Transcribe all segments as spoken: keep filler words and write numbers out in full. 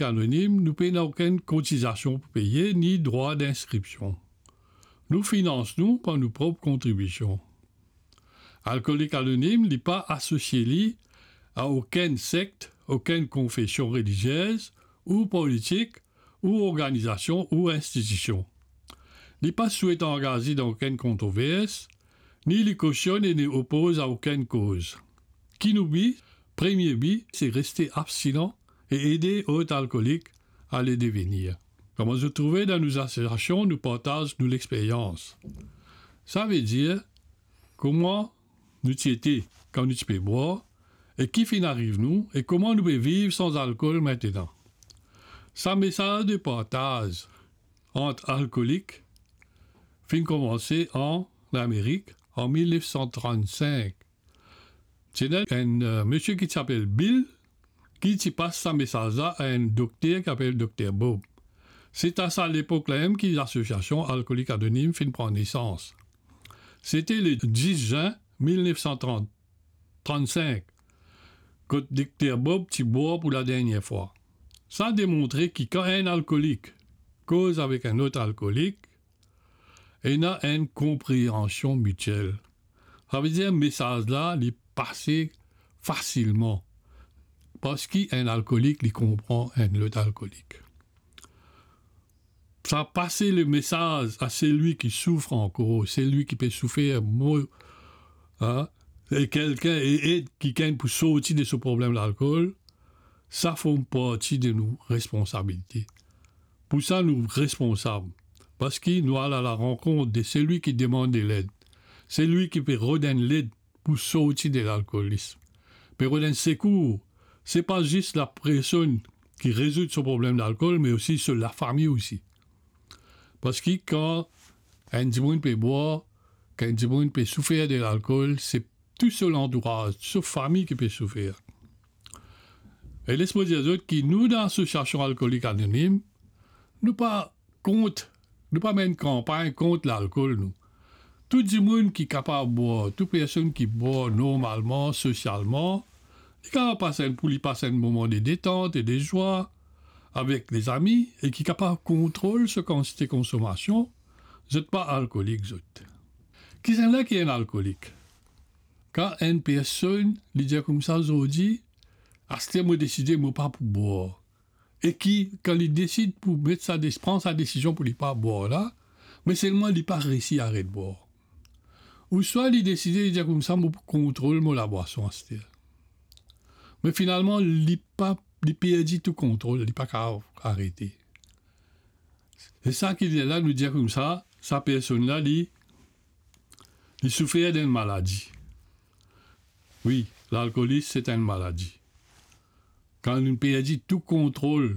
Anonim, nou pena okenn kotizasion pou peye, ni drwa dinskripsion. Nou finans nou par nou prop kontribision. Alkolik Anonim, li pa asosie li a okenn sekt, okenn konfesion reliziez, ou politik, ou organizasion, ou institision. Li pa swet angaze dan okenn kontrovers, ni li kosionn e ni opoz a okenn koz. Ki nou bi? Premie bi, se reste abstinan e ede lot alkolik a le devenir. Kouma zot trouve dan nou asosiasion, nou partaz nou lexperyans. Savedir, kouma nou ti ete kan nou ti pe bwar, e ki finn ariv nou, e kouma nou pe viv san alkol aster. Sa mesaz de partaz ant alkolik finn koumanse an Amerik an mil nef san trannsink. Ti ena enn, eh, misie ki ti apel Bill, ki ti pas sa mesaz la a enn dokter ki apel Dokter Bob. Se a sa lepok la mem ki lasosiasion Alkolik Anonim finn pran nesans. Sete le dis zin mil nef san trant, trannsink, kot Dokter Bob ti bwar pou ladernie fwa. Sa demontre ki kan enn alkolik koz avek enn lot alkolik, ena enn konpreansion mitiel. Savedir mesaz la, li pase fasilman, parski enn alkolik, li konpran enn lot alkolik. Sa pase lemesaz a selwi ki soufri ankor, selwi ki pe soufer, mo-, a, e kelkenn, e ed kikenn pou sorti de so problem lalkol, sa form parti de nou responsabilite. Pou sa, nou responsab, parski nou al a larankont de selwi ki demann de led, selwi ki pe rod enn led pou sorti de lalkolism, pe rod enn sekour. Se pa zis lapersonn ki rezoud so problem lalkol, me osi so lafami osi. Parski kan enn dimoun pe bwar, kan enn dimoun pe soufer de lalkol, se tou so lantouraz, tou so fami ki pe soufer. E les mo dir zot ki nou, dan Lasosiasion Alkolik Anonim, nou pa kont, nou pa menn kanpagn kont lalkol, nou. Tou dimoun ki kapav bwar, tou personn ki bwar normalman, sosialman, li kapav pas enn, pou li pas enn moman de detant e de zwa avek lezami e ki kapav kontrol so kantite konsomasion, zot pa alkolik, zot. Kisannla ki enn alkolik? Kan enn personn, li dir koumsa, zordi, aster mo deside mo pa pou bwar. E ki, kan li desid pou met sa de-, pran sa desizion pou li pa bwar la, me selman li pa resi aret bwar. Ouswa li deside, li dir koumsa, mo pou kontrol mo labwason aster. Me finalman, li pa, li perdi tou kontrol, li pa kapav arete. E sa ki ler la, nou dir koumsa, sa personn la, li, li soufer d'enn maladi. Wi, lalkolism, se enn maladi. Kan nou perdi tou kontrol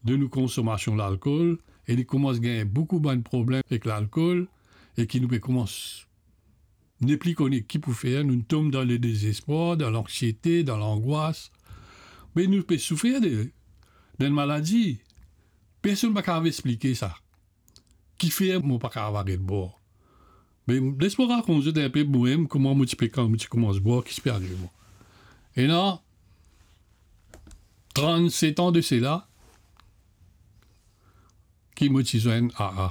de nou konsomasion lalkol, e li koumans gagn boukou bann problem ek lalkol, e ki nou pe koumans nepli kone ki pou fer, nou tom dan ledezespwar, dan lanksiete, dan langwas. Me nou pe soufer de, d'enn maladi. Personn pa kapav explike sa. Kifer mo pa kapav aret bwar? Me les mo rakont zot inpe momem kouma mo ti pe, kan mo ti koumans bwar, ki ti pe ariv mwa. Ena trannset an de sela ki mo ti zwenn A A.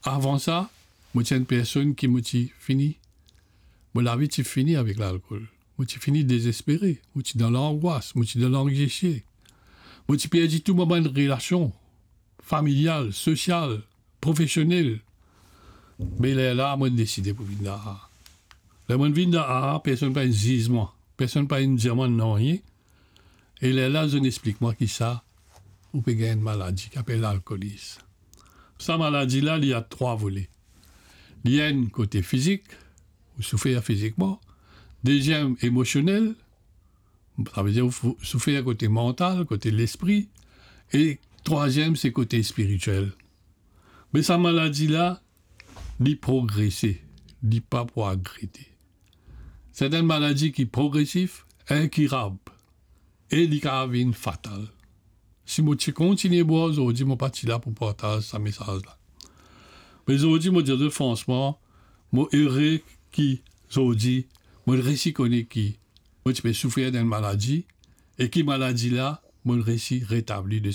Avan sa, mo ti enn personn ki mo ti fini, mo lavi ti fini avek lalkol. Mo ti fini dezespere, mo ti dan langwas, mo ti dan langsiete. Mo ti perdi tou mo bann relasion familial, sosial, profesionel. Me lerla mo deside pou vinn dan A A. Ler mo vinn dan A A, personn pa ziz mwa, personn pa dir mwa nanye. E lerla zot explik mwa ki sa, ou pe gagn enn maladi ki apel lalkolism. Sa maladi la, li a trwa vole. Li enn kote fizik, ou soufer fizikman. Deziem, emosionel, savedir ou fou-, soufer kote mantal, kote lespri. E trwaziem, se kote spiritiel. Me sa maladi la, li progrese, li pa pou arete. Se enn maladi ki progresif, inkirab, e li kapav vinn fatal. Si mo ti kontigne bwar zordi, mo pa ti la pou partaz sa mesaz la. Me zordi, mo dir zot fransman, mo ere ki zordi, mo resi kone ki mo ti pe soufer d'enn maladi, e ki maladi la, mo resi retabli de